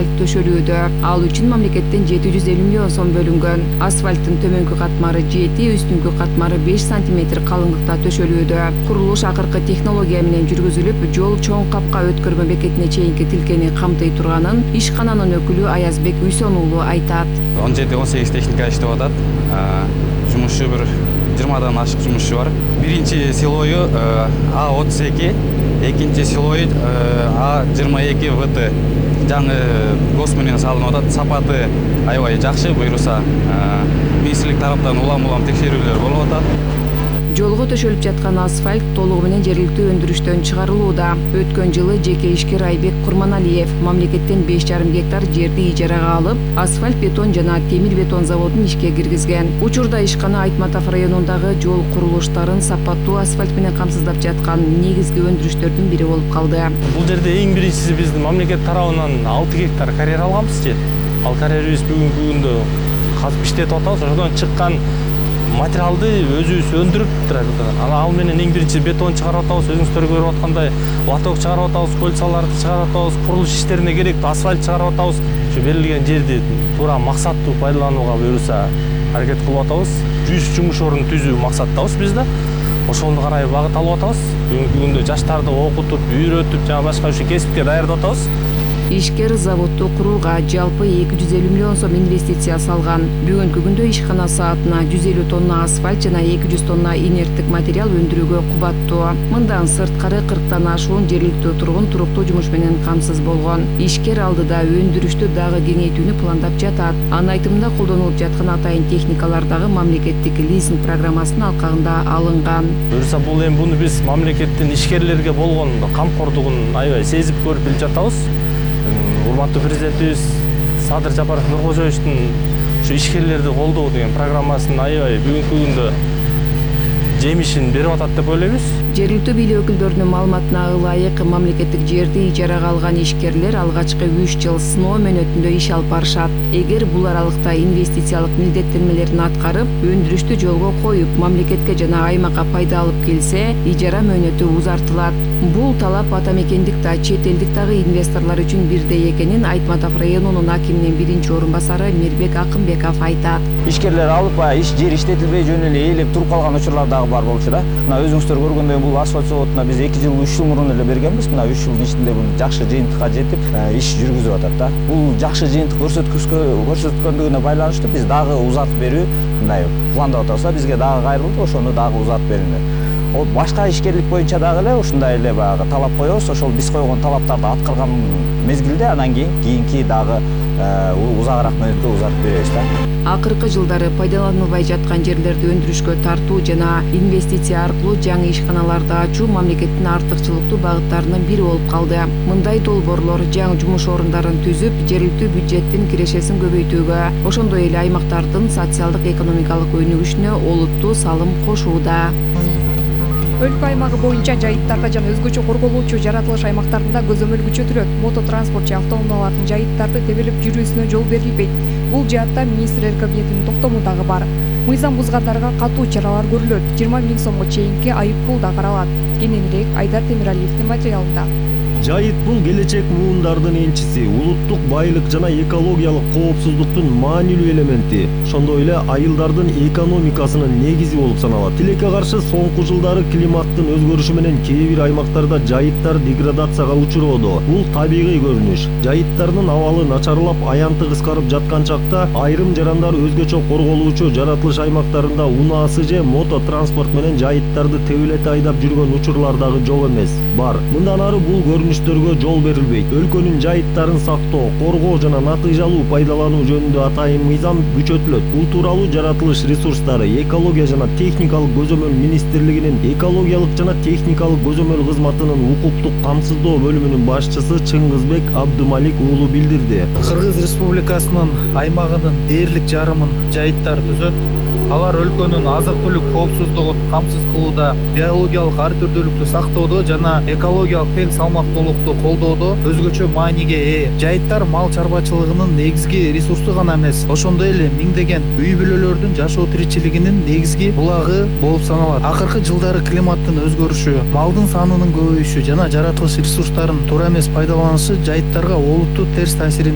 асфальт төшөлүүдө. Ал үчүн мамлекеттен 750 миллион сом бөлүнгөн. Асфальттын төмөнкү катмары 7, үстүңкү катмары 5 сантиметр калыңдыкта төшөлүүдө. Курулуш акыркы технология менен жүргүзүлүп, жол чоң капка өткөрмө бекетине чейинки тилкени камтый турганын ишкананын өкүлү Аязбек Үйсөн уулу айтат. 17-18 техника иштеп атат. Жумушчу бир 20дан ашык жумушчу бар. Биринчи силою А32, экинчи силой А22 ВТ. Жаңы гос менен салынып атат. Сапаты аябай жакшы, буюрса министрлик тараптан улам текшерүүлөр болуп атат. Жолго төшөлүп жаткан асфальт толугу менен жергиликтүү өндүрүштөн чыгарылууда. Өткөн жылы жеке ишкер Айбек Курманалиев мамлекеттен 5,5 гектар жерди ижарага алып, асфальт бетон жана темир бетон заводун ишке киргизген. Учурда ишкана Айтматов районундагы жол курулуштарын сапаттуу асфальт менен камсыздап жаткан негизги өндүрүштөрдүн бири болуп калды. Бул жерде эң биринчиси биздин мамлекет тарабынан 6 гектар карьер алганбыз же. Ал карьерибиз бүгүнкү күндө казып иштетип атабыз. Ошодон чыккан материалды өзүбүз өндүрүп турабыз. Ал менен эң биринчи бетон чыгарып атабыз, өзүңүздөр көрүп аткандай лоток чыгарып атабыз, кольцаларды чыгарып атабыз, курулуш иштерине керектүү асфальт чыгарып атабыз. Ушу берилген жерди туура максаттуу пайдаланууга буюрса аракет кылып атабыз. 100 жумуш орун түзүү максаттабыз биз да. Ошону карай багыт алып атабыз. Бүгүнкү күндө жаштарды окутуп, үйрөтүп, жана башка ушул кесипке даярдап атабыз. Ишкер заводду курууга жалпы 250 миллион сом инвестиция салган. Бүгүнкү күндө ишкана саатына 150 тонна асфальт жана 200 тонна инерттик материал өндүрүүгө кубаттуу. Мындан сырткары 40тан ашуун жергиликтүү тургун туруктуу жумуш менен камсыз болгон. Ишкер алдыда өндүрүштү дагы кеңейтүүнү пландап жатат. Анын айтымында колдонулуп жаткан атайын техникалар дагы мамлекеттик лизинг программасынын алкагында алынган. Буюрса бул эми буну биз мамлекеттин ишкерлерге болгон камкордугун аябай сезип көрүп билип жатабыз. Урматтуу президентибиз Садыр Жапаров Нуркожоевичтин ушу ишкерлерди колдоо деген программасынын аябай бүгүнкү күндө жемишин берип атат деп ойлойбуз. Жергиликтүү бийлик өкүлдөрүнүн маалыматына ылайык, мамлекеттик жерди ижарага алган ишкерлер алгачкы 3 жыл сыноо мөөнөтүндө иш алып барышат. Эгер бул аралыкта инвестициялык милдеттенмелерин аткарып, өндүрүштү жолго коюп, мамлекетке жана аймакка пайда алып келсе, ижара мөөнөтү узартылат. Бул талап ата мекендик да, чет элдик дагы инвесторлор үчүн бирдей экенин Айтматов районунун акиминин биринчи орун басары Мирбек Акымбеков айтат. Ишкерлер алып, жер иштетилбей жөн эле ээлеп туруп калган учурлар дагы бар болчу да. Мына өзүңүздөр көргөндөй бул асфальт заводуна биз 2 жыл, 3 жыл мурун эле бергенбиз. Мына 3 жылдын ичинде бул жакшы жыйынтыкка жетип, иш жүргүзүп атат да. Бул жакшы жыйынтык көрсөткөндүгүнө байланыштуу биз дагы узартып берүү мындай пландап атабыз да. Бизге дагы кайрылды, ошону дагы узартып бериңер. Башка ишкерлик боюнча дагы эле ушундай эле баягы талап коебуз. Ошол биз койгон талаптарды аткарган мезгилде анан кийинки дагы узагыраак мөөнөткө узартып беребиз да. Акыркы жылдары пайдаланылбай жаткан жерлерди өндүрүшкө тартуу жана инвестиция аркылуу жаңы ишканаларды ачуу мамлекеттин артыкчылыктуу багыттарынын бири болуп калды. Мындай долбоорлор жаңы жумуш орундарын түзүп, жергиликтүү бюджеттин кирешесин көбөйтүүгө, ошондой эле аймактардын социалдык экономикалык өнүгүшүнө олуттуу салым кошууда. Өлкө аймагы боюнча жайыттарда жана өзгөчө корголуучу жаратылыш аймактарында көзөмөл күчөтүлөт. Мототранспорт же автоунаалардын жайыттарды тебелеп жүрүүсүнө жол берилбейт. Бул жаатта министрлер кабинетинин токтому дагы бар. Мыйзам бузгандарга катуу чаралар көрүлөт. 20 000 сомго чейинки айып пул да каралат. Кененирээк Айдар Темиралиевдин материалында. Жайыт бул келечек муундардын энчиси, улуттук байлык жана экологиялык коопсуздуктун маанилүү элементи, ошондой эле айылдардын экономикасынын негизи болуп саналат. Тилекке каршы соңку жылдары климаттын өзгөрүшү менен кээ бир аймактарда жайыттар деградацияга учуроодо. Бул табигый көрүнүш. Жайыттардын абалы начарлап, аянты кыскарып жаткан чакта айрым жарандар өзгөчө корголуучу жаратылыш аймактарында унаасы же мототранспорт менен жайыттарды тебелете айдап жүргөн учурлар дагы жок эмес. Бар. Мындан ары бул көрүнүштөргө жол берилбейт. Өлкөнүн жайыттарын сактоо, коргоо жана натыйжалуу пайдалануу жөнүндө атайын мыйзам күчөтүлөт. Бул тууралуу жаратылыш ресурстары, экология жана техникалык көзөмөл министрлигинин экологиялык жана техникалык көзөмөл кызматынын укуктук камсыздоо бөлүмүнүн башчысы Чыңгызбек Абдымалик уулу билдирди. Кыргыз Республикасынын аймагынын дээрлик жарымын жайыттар түзөт. Алар өлкөнүн азык-түлүк коопсуздугун камсыз кылууда, биологиялык ар түрдүүлүктү сактоодо жана экологиялык тең салмактуулукту колдоодо өзгөчө мааниге ээ. Жайыттар мал чарбачылыгынын негизги ресурсу гана эмес, ошондой эле миңдеген үй бүлөлөрдүн жашоо тиричилигинин негизги булагы болуп саналат. Акыркы жылдары климаттын өзгөрүшү, малдын санынын көбөйүшү жана жаратылыш ресурстарын туура эмес пайдаланышы жайыттарга олуттуу терс таасирин